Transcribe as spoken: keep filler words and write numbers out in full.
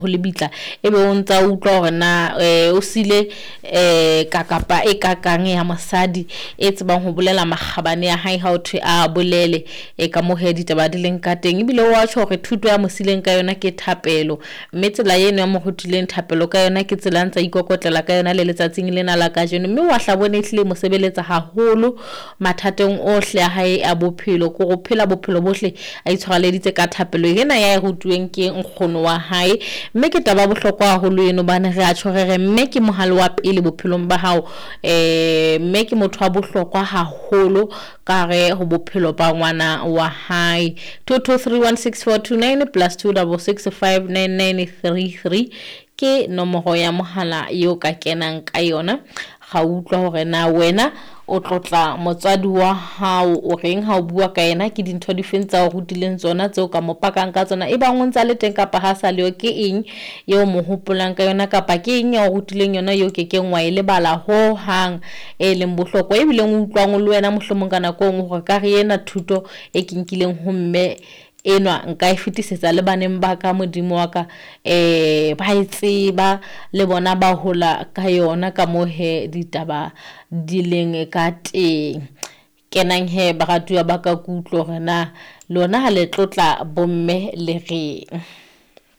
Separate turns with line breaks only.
Ho lebitla, ebe o ntsa utlwa hore na eh, o sile eh, kakapa e kakang ya mosadi e tsebang ho bolela makgabane ya hae ha o thwe a bolele e ka mo he ditaba di leng ka teng. Ebile o a tjho hore thuto ya mo sileng ka yona ke thapelo, mme tsela eno ya mo rutileng thapelo ka yona ke tsela a ntsa ikokotlela ka yona le letsatsing lena la kajeno. Mme wa hla bone ehlile mo sebeletsa haholo mathateng ohle a hae a bophelo, ke hore o phela bophelo bohle a itshwareleditse ka thapelo ena ya e rutuweng ke nkgono wa hae. Mme ke taba ya bohlokwa haholo eno, hobane re a tjho re re mme ke mohale wa pele bophelong ba hao, eh mme ke motho wa bohlokwa haholo ka hare ho bophelo ba ngwana wa hae. Two two three one six four two nine plus two double six five nine nine three three ke nomoro ya mohala eo ka kenang ka yona. Ga utlwa hore na wena o tlotla motswadi wa hao o reng ha o bua ka yena, ke dintho di feng tsa o rutileng tsona tseo ka mo pakang ka tsona, e bang o ntsa le teng kapa ha sa leyo, ke eng eo mo hopolang ka yona, kapa ke eng ya o rutileng yona eo kekeng wa e lebala ho hang, e leng bohlokwa, ebileng o utlwang le wena mohlomong ka nako e nngwe hore ka re ena thuto e ke nkileng ho mme enwa nka e fetisetsa le baneng ba ka, Modimo wa ka eh ba e tseba le bona ba hola ka yona ka mo he ditaba di leng ka teng. Kenang he baratuwa ba ka, ke utlwe hore na lona ha le tlotla bomme le reng.